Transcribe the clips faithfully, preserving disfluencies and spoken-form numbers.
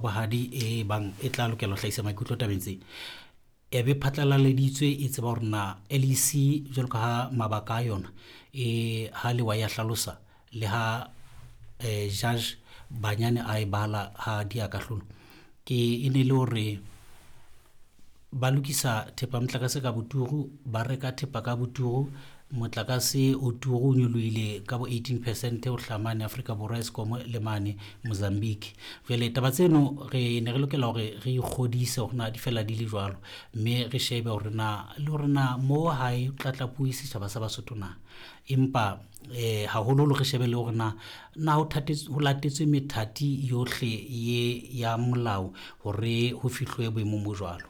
Bohadi e bang e tla lokela ho hlahisa maikutlo tabeng tse e be phatlalaleditswe e tseba hore na L E C jwalo ka ha mabaka a yona e ha lewa ya hlalosa le ha eh, judge Banyane a e bala ha di a kahlolo ke e ne le hore ba lokisa thepa motlakase ka boturu, ba reka thepa ka boturu, motlakase o turu o nyolohile ka bo eighteen percent ho hlamane Afrika Borwa, Eskom le mane Mozambique. Jwale taba tseno re ne re lokela hore re ikgodise hore na di fela di le jwalo, mme re shebe hore na le hore na mo hae tlatlapuwe setjhaba sa Basotho na. Empa eh haholoholo re shebe le hore na na ho thatetswe, ho latetswe methati yohle ye ya molao hore ho fihlwe boemong bo jwalo.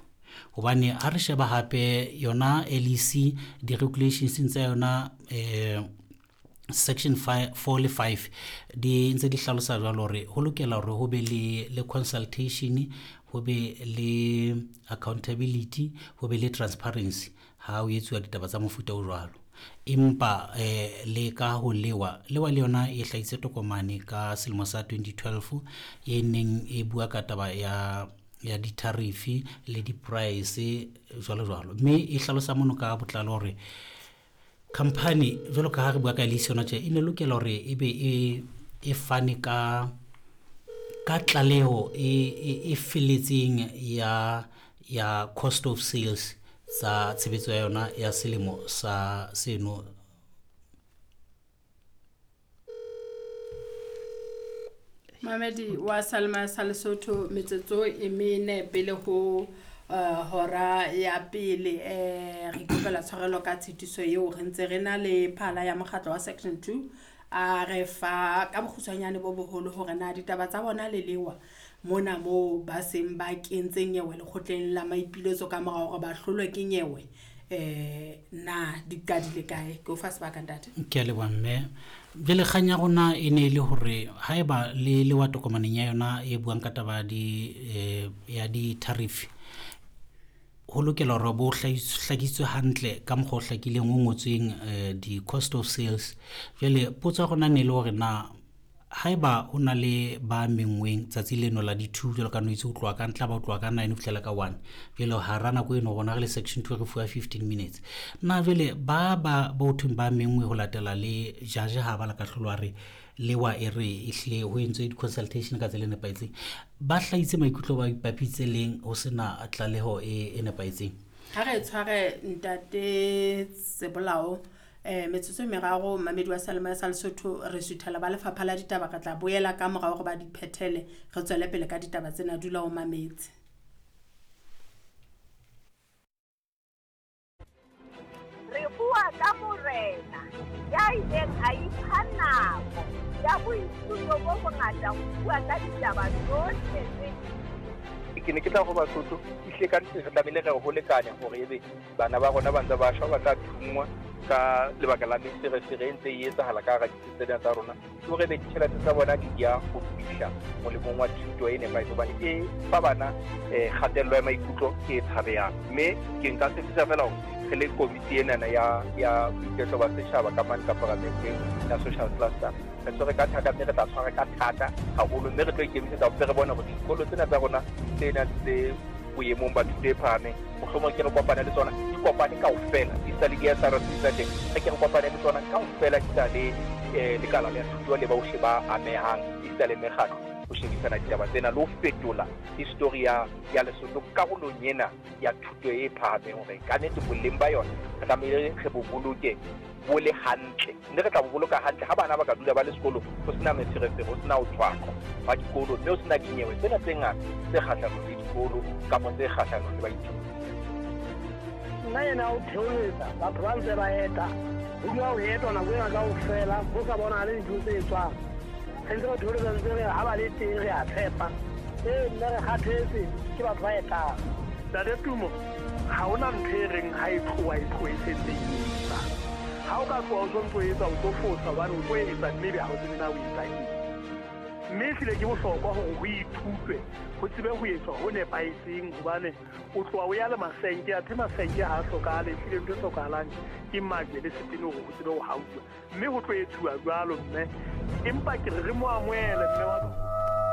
Hobane ha re sheba hape yona L E C di-regulations tsa yona eh section five, four le five di ntse di hlalosa jwalo hore ho lokela hore ho be le, le consultation, ho be le accountability, ho be le transparency ha ho etsuwa ditaba tsa mofuta o jwalo. Empa eh le ka ho lewa, lewa le yona e hlahise tokomane ka selemo sa twenty twelve e neng e bua ka taba ya ya di-tariff le di-price jwalo jwalo, mme e hlalosa mono ka botlalo hore company jwalo ka ha re bua ka L E C yona tje e ne lokela hore e be e, e fane ka, ka tlaleho e, e, e felletseng ya, ya cost of sales tsa tshebetso ya yona ya selemo sa seno. Mamedi wa Salma sa Lesotho, metsotso e mene pele ho uh, hora ya pele, eh, re ikopela tshwarelo ka tshitiso eo re ntse re na le phala ya mokgatlo wa section two a re fa ka bokgutshwanyane bo boholo hore na ditaba tsa bona le lewa mona moo ba seng ba kentse nyewe lekgotleng la maipiletso ka mora hore ba hlolwe ke nyewe, eh, na di qadile kae. Ke o fa sebaka ntate. Ke a leboha mme. Jwale kgang ya rona e ne e le hore haeba le lewa tokomaneng ya yona e buang ka taba ya di, eh, ya di-tariff, ho lokela hore bo hlahis-, hlakisitswe hantle ka mokgwa o hlakileng o ngotsweng, eh, di-cost of sales. Jwale potso ya rona ne e le hore na haeba ho na le ba menngweng tsatsi leno la di-two jwalo ka no itse ho tloha ka ntla ba ho tloha ka nine ho fihlela ka one, jwale hara nako eno rona re le section two re fuwa fifteen minutes. Na jwale ba ba bo thweng ba menngwe ho latela le judge ha ba la kahlolo a re lewa e re ehlile ho entswe di-consultation ka tsela e nepahetseng, ba hlahitse maikutlo ba ipapitse leng ho sena tlaleho e, e nepahetseng? Ha re tshware ntate Sebolao, eh, metsotso e meraro mamedi wa Salma sa Lesotho, re suthela ba lefapha la ditaba, re tla boela ka morao hore ba di phethele, re tswele pele ka ditaba tsena. Dula o mametse. Re bua ka morena ya ileng a ipha nako ya boithuto bo bongata ho bua ka ditaba tsohle tse Ke ne ke tla ho Basotho, ehlile ka nnete re tlamehile re ho lekane hore ebe bana ba rona ba ntse ba shwa, ba tla thunngwa ka lebaka la meferefere e ntse e etsahala ka hara ditsi tsena tsa rona. Ke hore ebe ditjhelete tsa bona di ya ho fihla molemong wa thuto e nepahetseng, hobane e fa bana, eh, kgatello ya maikutlo e tshabehang. Mme ke nka tshepisa feela hore re le komiti enana ya, ya boiketlo ba setjhaba ka mane ka paramenteng ya social cluster, re tshwere ka thata, mme re tla tshwara ka thata haholo, mme re tlo ikemisetsa hore re bone hore dikolo tsena tsa rona tse nang tse boemong ba thuto e phahameng, mohlomong ke re kopane le tsona, di kopane kaofela, di sa le di S R C tsa teng, re ke re kopane le tsona kaofela, di sa le, eh, lekala la thuto le bohle ba amehang, di sa le mekgatlo ho shebisana ditaba tsena le ho fetola history ya, ya Lesotho karolong ena ya thuto e phahameng, hore ka nnete boleng ba yona re tlamehile re bo boloke bo le hantle, mme re tla bo boloka hantle ha bana ba ka dula ba le sekolong, ho sena meferefere, ho sena ho tshwaqwa ba dikolo, mme ho sena dinyewe tsena tse ngata tse kgahlanong le dikolo kapa tse kgahlanong le baithuti. Nna ena o theoletsa batho ba ntse ba eta, ho dula ho etwa nako ena kaofela, ho sa bonahale dintho tse etswang. Re ntse re theoletsa ntse re ha ba le teng re a tshepa. Ee, nna re kgathetse ke batho ba etang. Ntate Tumo, ha hona ntho e reng ha e tloha e tloha e setse e etsa. Ha o ka tloha o sontso o etsa, o tlo fosa hobane o tlo etsa mme ebe ha o tsebe na o etsa eng. Mme ehlile ke bohlokwa hore ho ithutwe, ho tsebe ho etswa ho nepahetseng, hobane o tloha o ya le masenke, athe masenke ha a hlokahale, ehlile ntho e hlokahalang ke majwe le setene hore ho tsebe ho hauwa. Mme ho tlo etsuwa jwalo mme, empa ke re re mo amohele mme wa